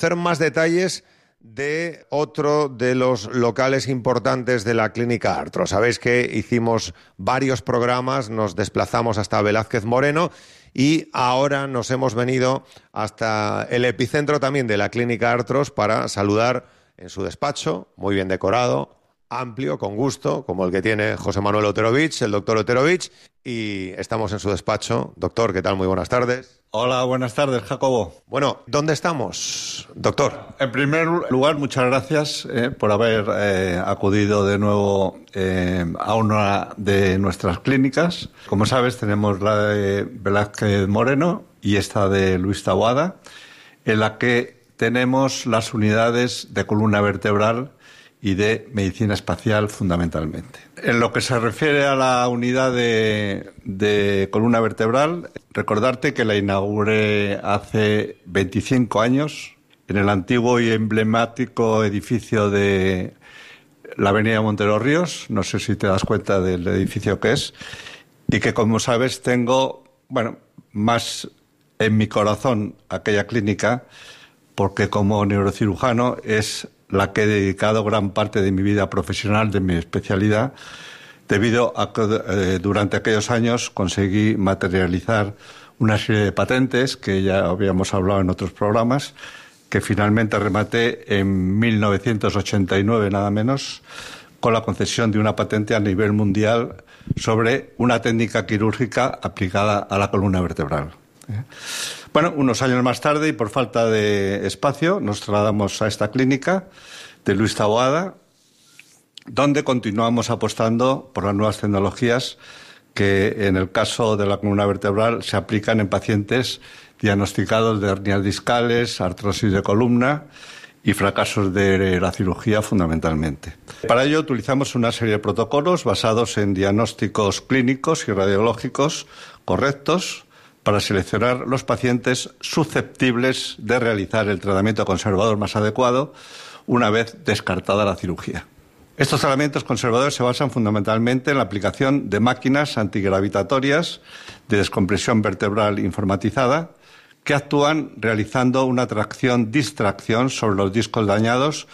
Hacer más detalles de otro de los locales importantes de la Clínica Artros. Sabéis que hicimos varios programas, nos desplazamos hasta Velázquez Moreno y ahora nos hemos venido hasta el epicentro también de la Clínica Artros para saludar en su despacho, muy bien decorado, amplio, con gusto, como el que tiene José Manuel Oterovich, el doctor Oterovich, y estamos en su despacho. Doctor, ¿qué tal? Muy buenas tardes. Hola, buenas tardes, Jacobo. Bueno, ¿dónde estamos, doctor? En primer lugar, muchas gracias por haber acudido de nuevo a una de nuestras clínicas. Como sabes, tenemos la de Velázquez Moreno y esta de Luis Taboada, en la que tenemos las unidades de columna vertebral y de medicina espacial fundamentalmente. En lo que se refiere a la unidad de columna vertebral, recordarte que la inauguré hace 25 años en el antiguo y emblemático edificio de la avenida Montero Ríos, no sé si te das cuenta del edificio que es, y que, como sabes, tengo, más en mi corazón aquella clínica, porque como neurocirujano es la que he dedicado gran parte de mi vida profesional, de mi especialidad, debido a que durante aquellos años conseguí materializar una serie de patentes que ya habíamos hablado en otros programas, que finalmente rematé en 1989, nada menos, con la concesión de una patente a nivel mundial sobre una técnica quirúrgica aplicada a la columna vertebral. Bueno, unos años más tarde, y por falta de espacio, nos trasladamos a esta clínica de Luis Taboada, donde continuamos apostando por las nuevas tecnologías que, en el caso de la columna vertebral, se aplican en pacientes diagnosticados de hernias discales, artrosis de columna y fracasos de la cirugía fundamentalmente. Para ello utilizamos una serie de protocolos basados en diagnósticos clínicos y radiológicos correctos, para seleccionar los pacientes susceptibles de realizar el tratamiento conservador más adecuado una vez descartada la cirugía. Estos tratamientos conservadores se basan fundamentalmente en la aplicación de máquinas antigravitatorias de descompresión vertebral informatizada que actúan realizando una tracción-distracción sobre los discos dañados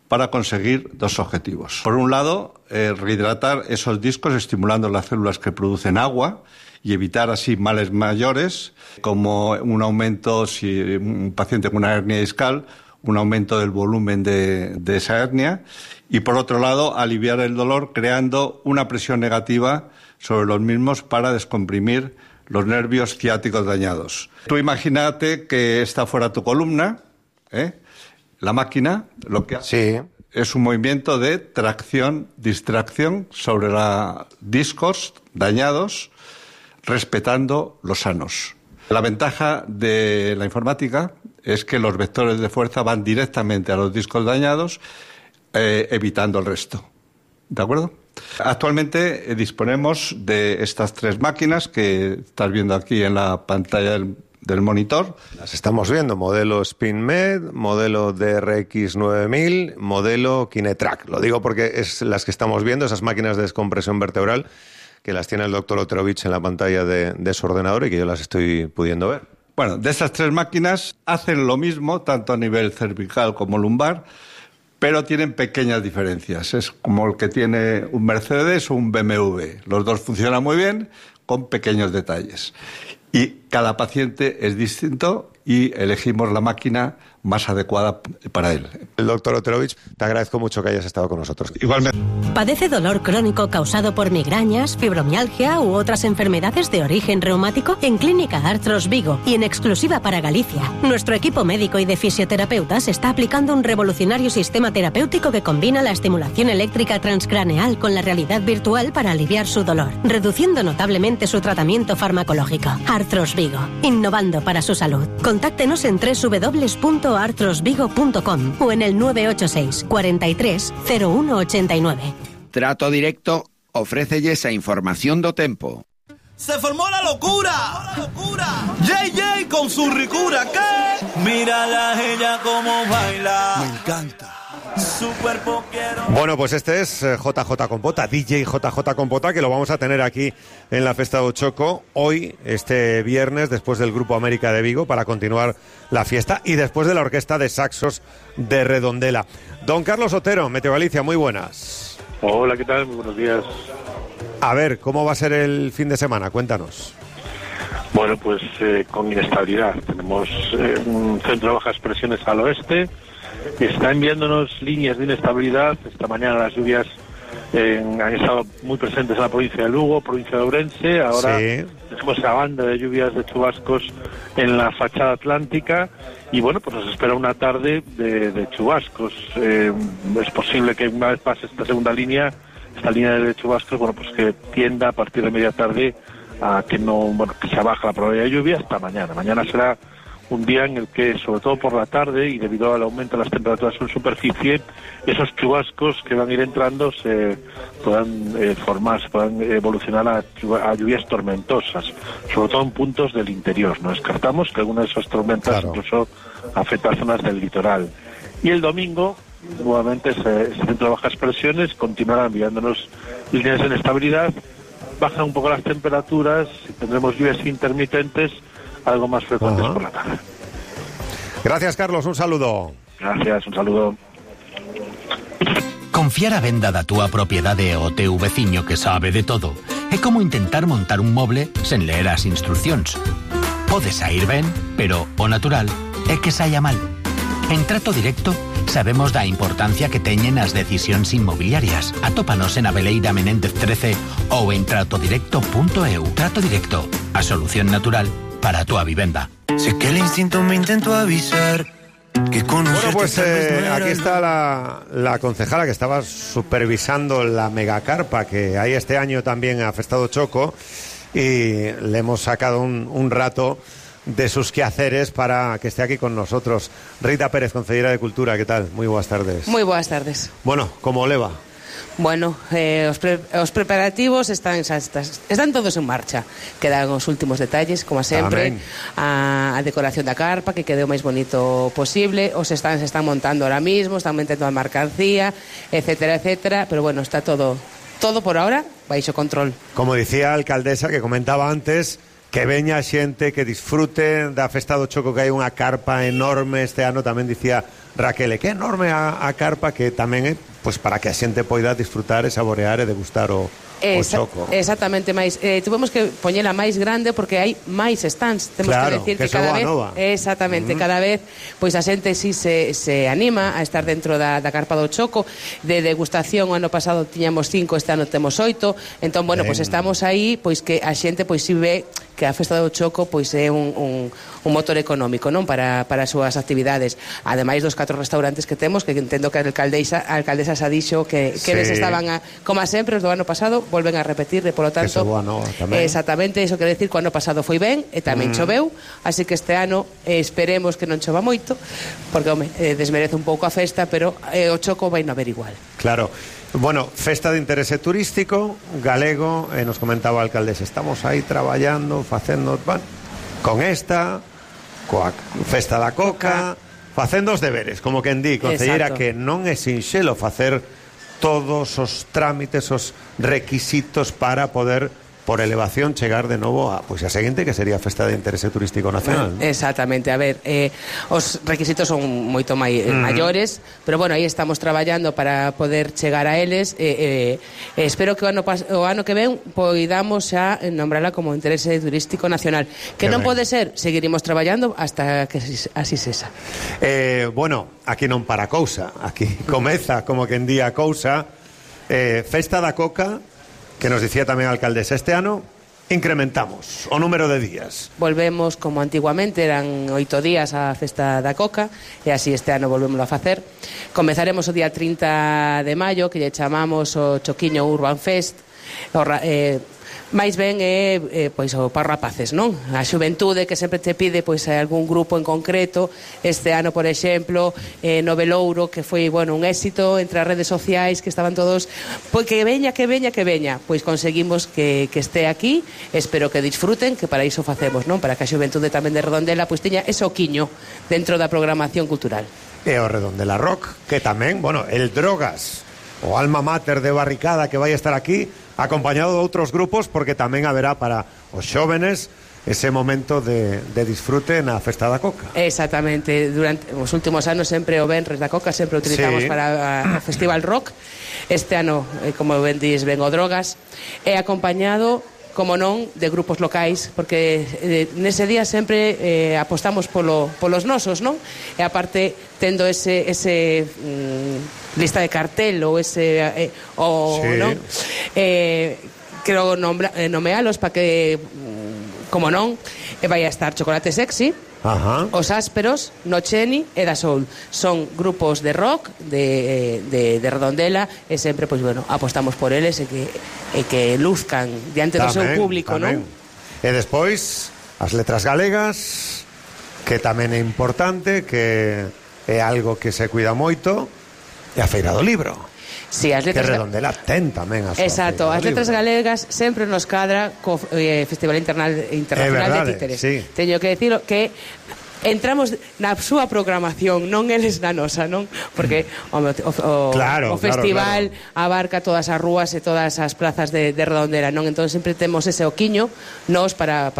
para conseguir dos objetivos. Por un lado, rehidratar esos discos estimulando las células que producen agua y evitar así males mayores, como un aumento, si un paciente con una hernia discal, un aumento del volumen de esa hernia, y por otro lado, aliviar el dolor creando una presión negativa sobre los mismos para descomprimir los nervios ciáticos dañados. Tú imagínate que esta fuera tu columna, la máquina lo que hace es un movimiento de tracción-distracción sobre los discos dañados, respetando los sanos. La ventaja de la informática es que los vectores de fuerza van directamente a los discos dañados, evitando el resto. ¿De acuerdo? Actualmente disponemos de estas tres máquinas que estás viendo aquí en la pantalla del monitor. Las estamos viendo, modelo SpinMed, modelo DRX 9000, modelo Kinetrack. Lo digo porque es las que estamos viendo, esas máquinas de descompresión vertebral, que las tiene el doctor Oterovich en la pantalla de su ordenador y que yo las estoy pudiendo ver. Bueno, de esas tres máquinas hacen lo mismo, tanto a nivel cervical como lumbar, pero tienen pequeñas diferencias. Es como el que tiene un Mercedes o un BMW. Los dos funcionan muy bien, con pequeños detalles. Y cada paciente es distinto y elegimos la máquina más adecuada para él. El doctor Oterovich, te agradezco mucho que hayas estado con nosotros. Igualmente. ¿Padece dolor crónico causado por migrañas, fibromialgia u otras enfermedades de origen reumático? En Clínica Artros Vigo y en exclusiva para Galicia, nuestro equipo médico y de fisioterapeutas está aplicando un revolucionario sistema terapéutico que combina la estimulación eléctrica transcraneal con la realidad virtual para aliviar su dolor, reduciendo notablemente su tratamiento farmacológico. Artros Vigo, innovando para su salud. Contáctenos en www.artrosvigo.com o en el 986 43 0189. Trato Directo ofrécelles a información do tempo. ¡Se formó la locura! JJ con su ricura, ¿qué? Mírala ella como baila. Me encanta. Su cuerpo quiero. Bueno, pues este es JJ Compota, DJ JJ Compota, que lo vamos a tener aquí en la Festa do Choco hoy, este viernes, después del Grupo América de Vigo, para continuar la fiesta y después de la Orquesta de Saxos de Redondela. Don Carlos Otero, Meteo Galicia, muy buenas. Hola, ¿qué tal? Muy buenos días. A ver, ¿cómo va a ser el fin de semana? Cuéntanos. Bueno, pues con inestabilidad. Tenemos un centro de bajas presiones al oeste. Está enviándonos líneas de inestabilidad. Esta mañana las lluvias han estado muy presentes en la provincia de Lugo, provincia de Ourense. Ahora tenemos esa banda de lluvias de chubascos en la fachada atlántica. Y bueno, pues nos espera una tarde de chubascos. Es posible que una vez pase esta segunda línea, esta línea de chubascos, bueno, pues que tienda a partir de media tarde a que que se baja la probabilidad de lluvia hasta mañana. Mañana será un día en el que, sobre todo por la tarde y debido al aumento de las temperaturas en superficie, esos chubascos que van a ir entrando se puedan puedan evolucionar a lluvias tormentosas, sobre todo en puntos del interior. No descartamos que alguna de esas tormentas incluso afecte a zonas del litoral. Y el domingo, nuevamente, ese centro de bajas presiones continuará enviándonos líneas de inestabilidad. Bajan un poco las temperaturas, tendremos lluvias intermitentes, algo más frecuentes por la tarde. Gracias, Carlos, un saludo. Gracias, un saludo. Confiar a venda da túa propiedade ao teu veciño que sabe de todo é como intentar montar un moble sen ler as instruccións. Pode sair ben, pero o natural é que saia mal. En Trato Directo sabemos da importancia que teñen as decisións inmobiliarias. Atópanos en Abeleira Menéndez 13 ou en tratodirecto.eu. Trato Directo, a solución natural para a túa vivenda. Sé que el instinto me intentó avisar que bueno, pues aquí está la concejala que estaba supervisando la megacarpa que hay este año también a Festa do Choco, y le hemos sacado un rato de sus quehaceres para que esté aquí con nosotros. Rita Pérez, concejala de Cultura, ¿qué tal? Muy buenas tardes. Muy buenas tardes. Bueno, ¿cómo le va? Bueno, os preparativos están todos en marcha. Quedan os últimos detalles, como sempre. A decoración da carpa, que quede o máis bonito posible. Os stands se están montando ahora mismo, están metendo a mercancía, etcétera, etcétera. Pero bueno, está todo por ahora baixo control. Como dicía a alcaldesa, que comentaba antes, que veña a xente que disfrute da Festa do Choco, que hai unha carpa enorme este ano. Tamén dicía Raquel, que enorme a carpa, que tamén é pues para que a xente poida disfrutar e saborear e degustar o choco. Exactamente, máis tivemos que poñela máis grande porque hai máis stands. Temos claro, que decir que cada vez nova. Exactamente, cada vez pois a xente si se anima a estar dentro da carpa do Choco. De degustación, o ano pasado tiñamos 5, este ano temos 8. Entón, bueno, pois estamos aí, pois que a xente pois si ve que a Festa do Choco pois é un motor económico, non, para as súas actividades. Ademais dos 4 restaurantes que temos, que entendo que a alcaldesa xa dixo que eles estaban como sempre os do ano pasado, volven a repetir, e polo tanto exactamente, iso quere decir que o ano pasado foi ben e tamén choveu, así que este ano esperemos que non chova moito, porque home, desmerece un pouco a festa, pero o Choco vai non haber igual. Claro. Bueno, festa de interese turístico galego, nos comentaba a alcaldesa, estamos aí traballando, facendo, bueno, con esta, coa Festa da Coca, facendo os deberes, como quen di, concellera, que non é sinxelo facer todos os trámites, os requisitos para poder, por elevación, chegar de novo a seguinte, que sería a Festa de Interese Turístico Nacional, ¿no? Exactamente, a ver, os requisitos son moito maiores, pero bueno, aí estamos traballando para poder chegar a eles. Espero que o ano que ven poidamos xa nombrala como Interese Turístico Nacional, que non pode ser, seguiremos traballando hasta que así sexa. Bueno, aquí non para cousa, aquí comeza, como quen di a cousa, Festa da Coca, que nos dicía tamén a alcaldesa, este ano incrementamos o número de días. Volvemos como antiguamente, eran 8 días a Festa da Coca, e así este ano volvemos a facer. Comezaremos o día 30 de maio, que lle chamamos o Choquiño Urban Fest. máis ben é pois o para rapaces, non? A xuventude que sempre te pide pois algún grupo en concreto. Este ano, por exemplo, no Velouro, que foi, bueno, un éxito entre as redes sociais, que estaban todos, pois que veña, pois conseguimos que este aquí. Espero que disfruten, que para iso facemos, non? Para que a xuventude tamén de Redondela pois teña ese oquiño dentro da programación cultural. e o Redondela Rock, que tamén, bueno, el Drogas, o alma mater de Barricada, que vai estar aquí, acompañado de outros grupos, porque tamén haberá para os xóvenes ese momento de disfrute na Festa da Coca. Exactamente, durante os últimos anos sempre o Venres da Coca sempre o utilizamos para o Festival Rock. Este ano, como ben dis, ven o Drogas, é acompañado, como non, de grupos locais, porque nese día sempre apostamos polos nosos, non? E aparte, tendo ese lista de cartel ou ese non? Quero nomealos para que, como non, vai a estar Chocolate Sexy, Os Ásperos, Nocheni e Da Soul. Son grupos de rock de Redondela, e sempre, pois, bueno, apostamos por eles e que luzcan diante do seu público, non? E despois, as letras galegas, que tamén é importante, que é algo que se cuida moito, e a Feira do Libro. Sí, as letras... Que Redondela ten tamén a súa. Exacto, as letras galegas sempre nos cadra co Festival Internacional de Títeres. Sí. Teño que decirlo que entramos na súa programación, non eles na nosa, non? Porque o festival abarca todas as rúas e todas as plazas de Redondela, non? Entón sempre temos ese oquiño nos para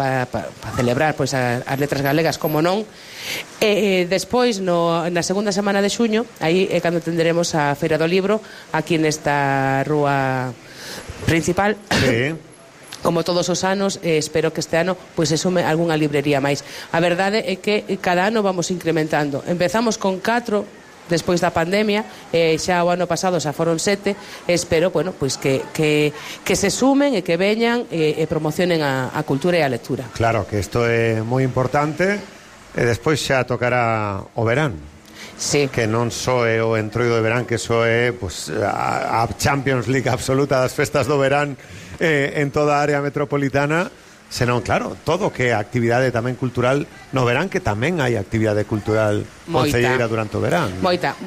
celebrar pois as letras galegas, como non. Despois, na segunda semana de xuño, aí é cando tenderemos a Feira do Libro aquí nesta rúa principal. Sí. Como todos os anos, espero que este ano pois se sume algunha librería máis. A verdade é que cada ano vamos incrementando. Empezamos con 4 despois da pandemia, xa o ano pasado xa foron 7, espero, bueno, pois que se sumen e que veñan e promocionen a cultura e a lectura. Claro, que isto é moi importante, e despois xa tocará o verán. Sí. Que non só é o entroido de verán, que só é pues, a Champions League absoluta das festas do verán en toda a área metropolitana, senón, claro, todo que é actividade tamén cultural no verán, que tamén hai actividade cultural concelleira durante o verán. Moita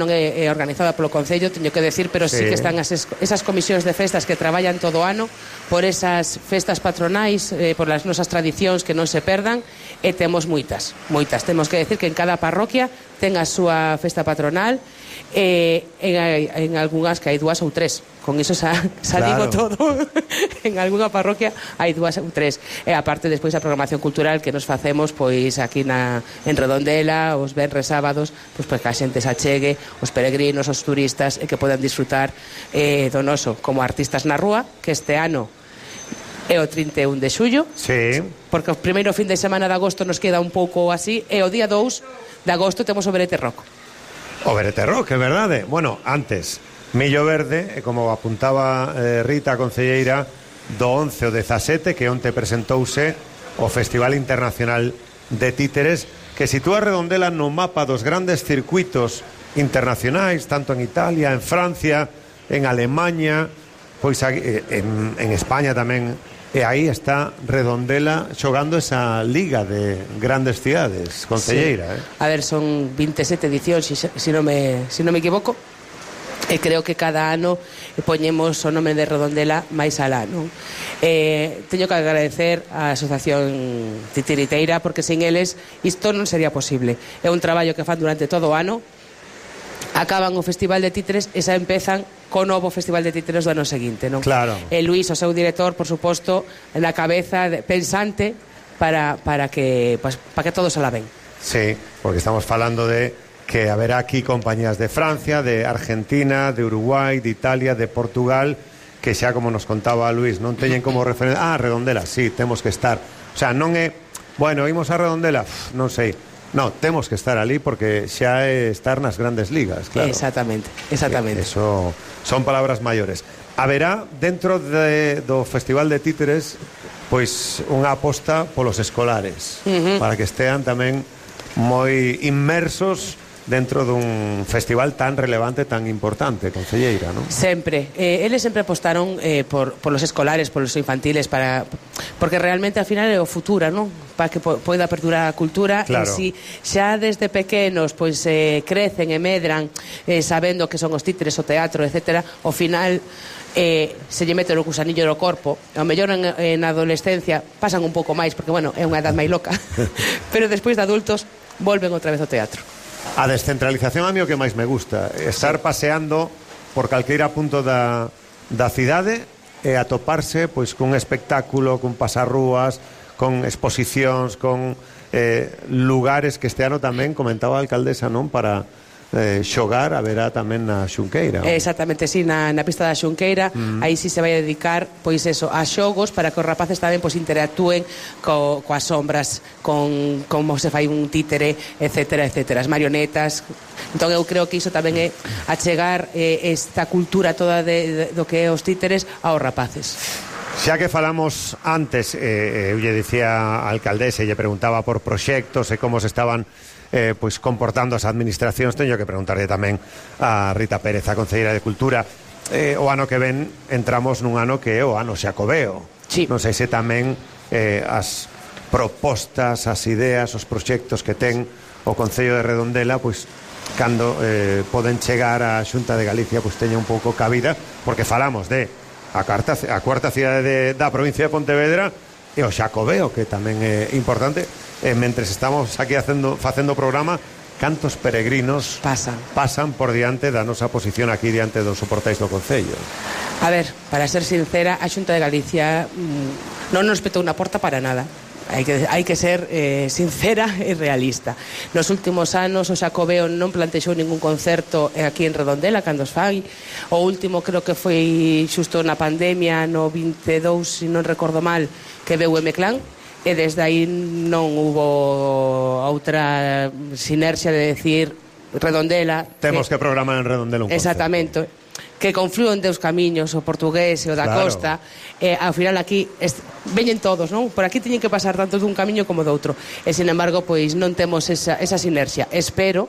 non é organizada polo Concello, teño que decir, pero sí que están esas comisións de festas que traballan todo o ano por esas festas patronais, por as nosas tradicións que non se perdan, e temos moitas. Temos que decir que en cada parroquia ten a súa festa patronal, en algunhas que hai 2 ou 3. Con iso xa digo todo. En algunha parroquia hai 2 ou 3. E aparte despois a programación cultural que nos facemos pois aquí en Redondela, os venres sábados, pois que a xente se achegue, os peregrinos, os turistas, e que podan disfrutar do noso como artistas na rúa, que este ano é o 31 de xullo. Sí. Porque o primeiro fin de semana de agosto nos queda un pouco así, e o día 2 de agosto temos o Verete Rock. O Verete Rock, é verdade. Bueno, antes, Millo Verde, como apuntaba Rita, a concelleira, do 11 ao 17, que onte presentouse o Festival Internacional de Títeres, que sitúa Redondela no mapa dos grandes circuitos internacionais, tanto en Italia, en Francia, en Alemanha, pois en España tamén. E aí está Redondela xogando esa liga de grandes cidades, concelleira. Sí. A ver, son 27 edicións, se non me equivoco, e creo que cada ano poñemos o nome de Redondela máis alá, non? Teño que agradecer á Asociación Titiriteira, porque sin eles isto non sería posible. É un traballo que fan durante todo o ano, acaban o Festival de Títeres e xa empezan co novo Festival de Títeres do ano seguinte, non? Claro. E Luís, o seu director, por suposto, na cabeza pensante para que todo se la ven. Sí, porque estamos falando de que haberá aquí compañías de Francia, de Argentina, de Uruguai, de Italia, de Portugal, que xa, como nos contaba Luís, non teñen como referencia. Redondela, sí, temos que estar. O sea, non é, bueno, imos a Redondela, non sei. No, temos que estar ali porque xa é estar nas grandes ligas, claro. Exactamente. Eso son palabras maiores. Haberá dentro do Festival de Títeres pois unha aposta polos escolares, para que estean tamén moi inmersos dentro dun festival tan relevante, tan importante, concelleira, non? Sempre. Eles sempre apostaron por los escolares, por los infantiles, porque realmente al final é o futuro, non? Para que poida perdurar a cultura. Claro. E si xa desde pequenos pois crecen e medran sabendo que son os títeres, o teatro, etcétera, ao final se lle mete o gusanillo no corpo. Ao mellor en adolescencia pasan un pouco máis, porque, bueno, é unha edad máis loca. Pero despois de adultos volven outra vez ao teatro. A descentralización a mí o que máis me gusta, estar paseando por calqueira punto da cidade e atoparse pois cun espectáculo, cun pasarrúas, con exposicións, con lugares que este ano tamén comentaba a alcaldesa, non, para xogar, haberá tamén na Xunqueira. Exactamente, sí, na pista da Xunqueira, aí sí se vai a dedicar pois eso, a xogos para que os rapaces tamén pois interactúen coas sombras, con como se fai un títere, etcétera, etcétera, as marionetas. Entón eu creo que iso tamén é achegar esta cultura toda do que é os títeres aos rapaces. Xa que falamos antes, eu lle dicía a alcaldesa e lle preguntaba por proxectos e como se estaban pois comportando as administracións, teño que preguntarle tamén a Rita Pérez, a concelleira de Cultura. O ano que ven entramos nun ano que é o ano xacobeo. Sí. Non sei se tamén as propostas, as ideas, os proxectos que ten o Concello de Redondela, pois cando poden chegar á Xunta de Galicia, pois teña un pouco cabida, porque falamos de a cuarta cidade da provincia de Pontevedra e o xacobeo, que tamén é importante. Mentres estamos aquí facendo o programa, cantos peregrinos pasan por diante da nosa posición aquí diante dos soportais do Concello. A ver, para ser sincera, a Xunta de Galicia non nos petou unha porta para nada. Hai que ser sincera e realista. Nos últimos anos o Xacobeo non plantexou ningún concerto aquí en Redondela cando os fai. O último creo que foi xusto na pandemia, no 22, se non recordo mal, que veu M-Clan, e desde aí non hubo outra sinerxia de decir Redondela. Temos que programar en Redondela un concerto. Exactamente. Que conflúen deus camiños, o portugués e o da costa, ao final aquí veñen todos, non? Por aquí teñen que pasar tanto dun camiño como do outro, e sin embargo pois non temos esa sinerxia. Espero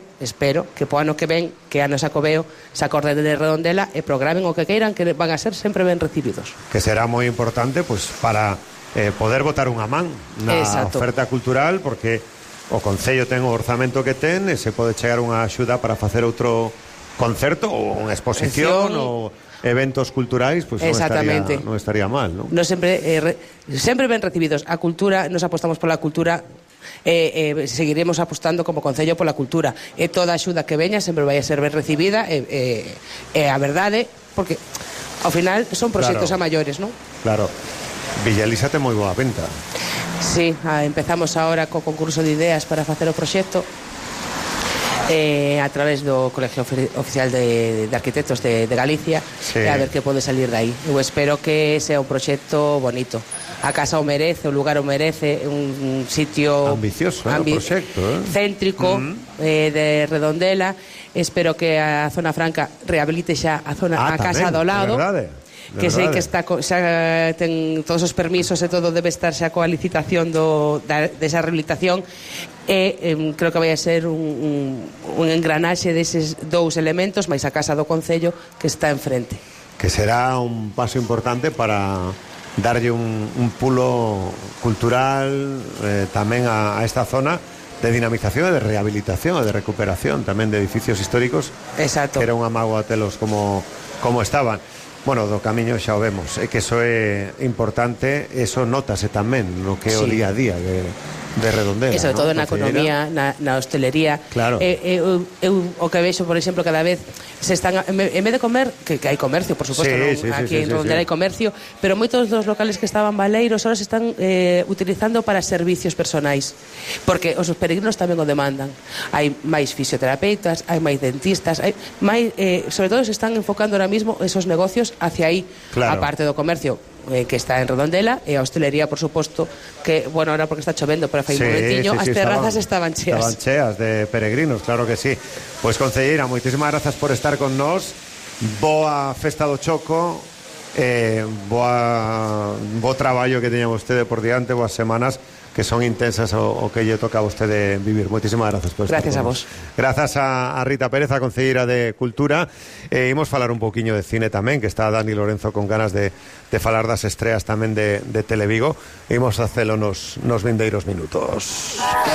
que po ano que ven, que ano Xacobeo se acorden de Redondela e programen o que queiran, que van a ser sempre ben recibidos. Que será moi importante pois para poder botar unha man na oferta cultural, porque o Concello ten o orzamento que ten e se pode chegar unha axuda para facer outro concerto ou unha exposición ou eventos culturais, pois non estaría mal, non? No sempre ben recibidos. A cultura, nos apostamos pola cultura, seguiremos apostando como Concello pola cultura, e toda axuda que veña sempre vai a ser ben recibida, e a verdade, porque ao final son proxectos a maiores, non? Claro. Villaliza ten moi boa venta. Sí, empezamos agora co concurso de ideas para facer o proxecto a través do Colegio Oficial de Arquitectos de Galicia, e a ver que pode salir de aí. Eu espero que sea un proxecto bonito. A casa o merece, o lugar o merece, un sitio ambicioso, proxecto, céntrico, de Redondela. Espero que a Zona Franca rehabilite xa a casa do lado. Que sei que está xa ten todos os permisos e todo, debe estar xa coa licitación desa rehabilitación, e creo que vai a ser un engranaxe deses dous elementos máis a casa do Concello que está enfrente, que será un paso importante para darlle un pulo cultural tamén a esta zona de dinamización e de rehabilitación e de recuperación tamén de edificios históricos. Exacto. Que era unha mágoa telos como estaban. Bueno, do camiño xa o vemos, é que eso é importante, eso notase tamén no que é o día a día de Redondela. E sobre todo na economía, na hostelería. Claro. Eu o que vexo, por exemplo, cada vez se están, en vez de comer, que hai comercio, por suposto, aquí en Redondela hai comercio, pero moitos dos locales que estaban baleiros ahora se están utilizando para servicios personais, porque os peregrinos tamén o demandan. Hai máis fisioterapeutas, hai máis dentistas, hai máis, sobre todo se están enfocando ahora mismo esos negocios hacia aí, a parte do comercio que está en Redondela, e a hostelería, por suposto, que, bueno, ahora porque está chovendo, pero fai un momentiño, as terrazas estaban cheas. Estaban cheas de peregrinos, claro que sí. Pois, concelleira, moitísimas grazas por estar con nós. Boa festa do Choco, bo traballo que teña vostede por diante, boas semanas que son intensas o que lle toca a vostede vivir. Moitísimas grazas por estar. Gracias a vos. Grazas a Rita Pérez, a concelleira de Cultura. Imos falar un poquinho de cine tamén, que está Dani Lorenzo con ganas de falar das estreas tamén de Televigo. Imos facelo nos vindeiros minutos.